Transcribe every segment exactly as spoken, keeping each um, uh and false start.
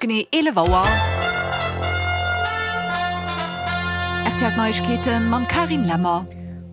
genee eelef Auer. R T L Neiegkeeten mam Carine Lemmer.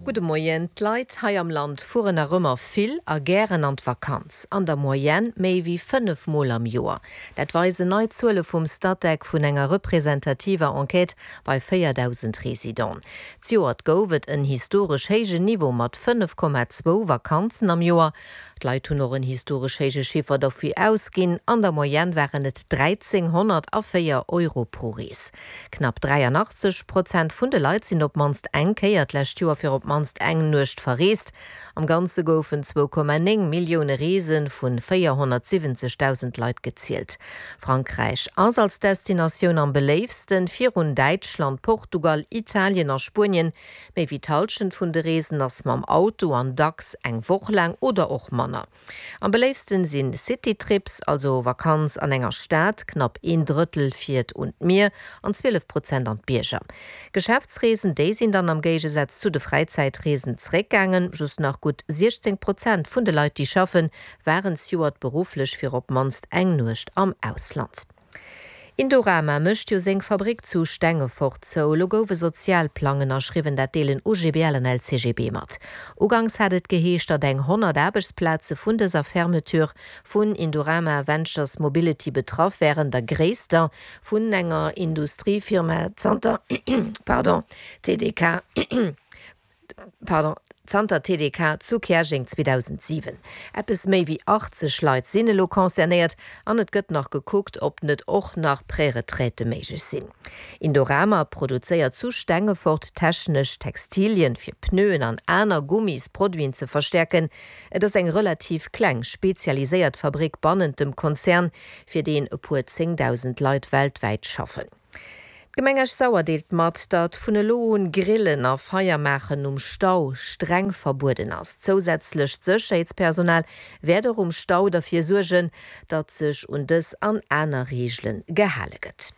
Gudde Moien. D'Leit hei am Land fueren nach ëmmer vill a gären an d'Vakanz, an der Moyenne méi wéi fënnef Mol am Joer. Dat weisen nei Zuele vum Statec vun enger representativer Enquête bei véierdausend Residenten. Zejoert gouf et en historesch héijen Niveau mat fënnef Komma zwou Vakanzen am Joer. D'Leit hunn och en historesch héije Chiffer derfir ausginn, an der Moyenne waren et dräizénghonnertvéier Euro pro Rees. Knapp dräianachtzeg Prozent vun de Leit sinn op d'mannst eng Kéier d'lescht Joer fir op d'mannst eng Nuecht verreest. Am Ganze goufen zwou Komma néng Millioune Reese vu véierhonnertsiwwenzegdausend Leit gezielt. Frankräich ass als Destinatioun am beléiftsten, virun Däitschland, Portugal, Italien a Spuenien. Méi wéi d'Hallschent vun de Reesen ass mam Auto an dacks eng Woch laang oder och manner. Am beléiftsten sinn Citytrips, also Vakanz an enger Stad, knapp een Drëttel fiert un d'Mier an zwielef Prozent an d'Bierger. Geschäftsreesen, déi sinn dann am Géigesaz zu de Fräizäitreesen zeréckgaangen, just nach gutt siechzéng Prozent vun de Leit, déi schaffen, waren zejoert berufflech fir op d'mannst eng Nuecht am Ausland. Indorama mécht jo seng Fabrick zu Stengefort zou. Elo gouf e Sozialplang ënnerschriwwen, dat deelen U G B L an L C G B mat. Uganks hat et geheescht, datt eng honnert Aarbechtsplaze vun dëser Fermeture vun Indorama Ventures Mobility betraff wären, der gréisster vun enger Industriefirma zanter, pardon, T D K, pardon, zanter T D K zu Käerjeng zweedausentsiwen. Eppes méi wéi achtzeg Leit sinn elo concernéiert an et gëtt nach gekuckt, ob net och nach Préretraite méiglech sinn. Indorama produzéiert zu Stengefort technesch Textilien fir Pneuen an aner Gummisproduiten ze verstärken. Et ass eng relativ kleng, spezialiséiert Fabrik bannent dem Konzern, fir deen e puer zéngdausend Leit weltwäit schaffen. D'Gemeng Esch-Sauer deelt mat, datt vun elo un Grillen a Feiermaachen um Stau streng verbueden ass. Zousätzlech d'Sécherheetspersonal wäert och um Stau derfir suergen, datt sech un dës an aner Reegele gehale gëtt.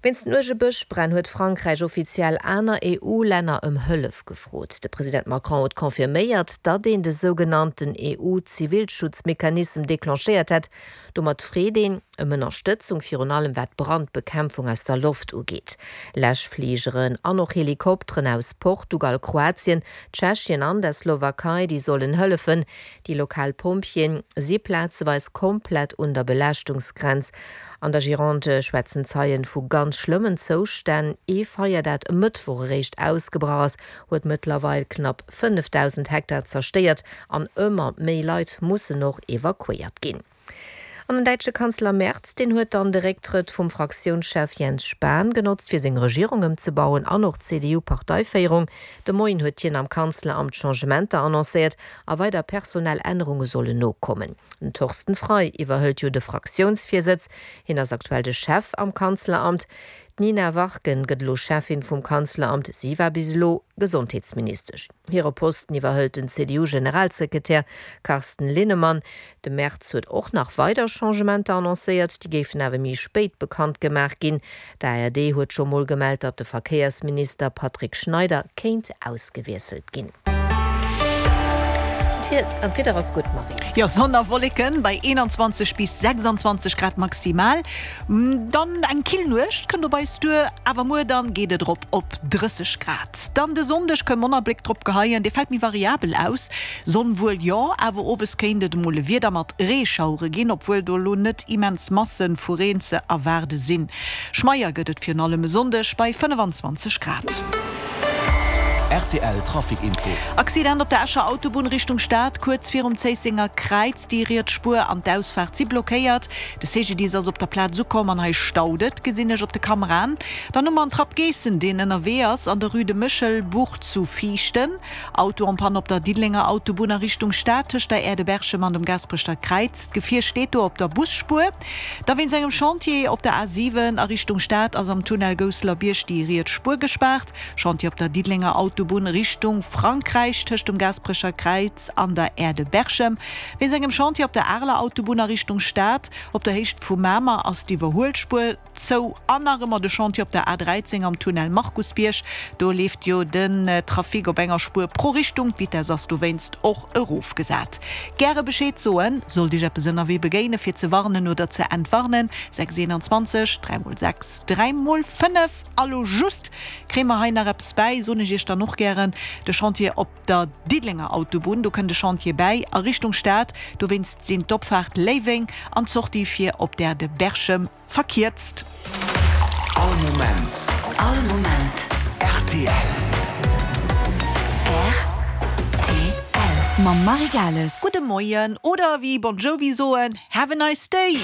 Wéinst den uerge Bëschbränn huet Frankräich offiziell aner E U-Länner ëm Hëllef gefrot. De President Macron huet confirméiert, datt een de sougenannten E U-Zivilschutzmechanism declenchéiert hätt. Domat freet een ëm Ënnerstëtzung virun allem wat d'Brandbekämpfung aus der Loft ugeet. Läschfligeren an och Helikopteren aus Portugal, Kroatien, Tschechien an der Slowakei, déi sollen hëllefen. Déi lokal Pompjeeën si plazeweis komplett un der Belaaschtungsgrenz. An der Gironde schwätzen Zeien vu ganz schlëmmen Zoustänn. Ee Feier, dat e Mëttwoch eréischt ausgebrach ass, huet mëttlerweil knapp fënnefdausend Hektar zerstéiert an ëmmer méi Leit mussen och evakuéiert ginn. An den däitsche Kanzler Merz, deen huet dann de Récktrëtt vum Fraktiounschef Jens Spahn genotzt, fir seng Regierung ëmzebauen an och d'C D U-Parteiféierung. De Moien huet hien am Kanzleramt Changementer annoncéiert a weider personell Ännerunge sollen nokommen. Den Thorsten Frei iwwerhëlt jo de Fraktiounsvirsitz. Hien ass aktuell de Chef am Kanzleramt. D'Nina Warken gëtt elo Chefin vum Kanzleramt. Si war bis elo Gesondheetsministesch. Hire Posten iwwerhëlt den C D U-Generalsekretär Carsten Linnemann. De Merz huet och nach weider Changementer annoncéiert, déi géifen awer méi spéit bekannt gemaach ginn. D'A R D huet scho mol gemellt, datt de Verkéiersminister Patrick Schneider kéint ausgewiesselt ginn. An d'Wieder ass gutt, Marie. Jo, Sonn a Wolleken bei eenanzwanzeg bis sechsundzwanzeg Grad maximal. Dann eng kill Nuecht kënnt op eis duer, awer muer dann geet et drop op drësseg Grad. Dann de Sonndeg kënnt manner Bléck drop geheien, dee fält méi variabel aus. Sonn wuel jo, awer owes kéint et emol e Wieder mat Reeschauere ginn, obwuel do lo net immens Massen vu Reen ze erwaarde sinn. Schmeier gëtt et virun allem e Sonndeg bei fënnefanzwanzeg Grad. R T L Trafic Info. Accident op der Escher Autobunn Richtung Stad, kuerz virum Zéissenger Kräiz, déi riets Spuer an d'Ausfahrt si blockéiert. De C G D ass op der Plaz ukomm an hei staut et, gesinn ech op de Kameraen. Dann hu mer en Trapp Geessen, deen ënnerwee ass an der Rue de Méchelbuch zu Viichten. Auto en panne op der Diddelenger Autobunn a Richtung Stad tëscht der Aire de Berchem an dem Gaasperecher Kräiz. D'Gefier steet do op der Busspuer. Da wéinst engem Chantier op der A siwen a Richtung Stad ass am Tunnel Gousseler Bierg déi riets Spuer gespaart. Chantier op der Diddelenger Autobunn Autobunn Richtung Frankräich tëscht dem Gaasperecher Kräiz an der Aire de Berchem. Wéinst engem Chantier op der Areler Autobunn a Richtung Stad, op der Héicht vu Mamer ass d'Iwwerhuelspuer zou. An nach ëmmer de Chantier op der A dräizéng am Tunnel Markusbierg. Do leeft jo den Trafic op enger Spuer pro Richtung, d'Vitess ass dowéinst och erofgesat. Gäre Bescheed soen, sollt Iech eppes ënnerwee begéine fir ze warnen oder ze entwarnen, sechs eenanzwanzeg, dräi mol sechs, dräi mol fënnef. A lo just kréie mer hei nach eppes bäi, soen ech Iech dann och gären, de Chantier op der Diddelenger Autobunn, do kënnt e Chantier bäi a Richtung Stad, dowéinst sinn d'Opfaart Léiweng an d'Sortie fir op d'Aire de Berchem verkierzt. All Moment. All Moment. Rtl. Rtl. Mam Marie Gales. Gudde Moien oder wéi Bon Jovi soen, Have a nice day!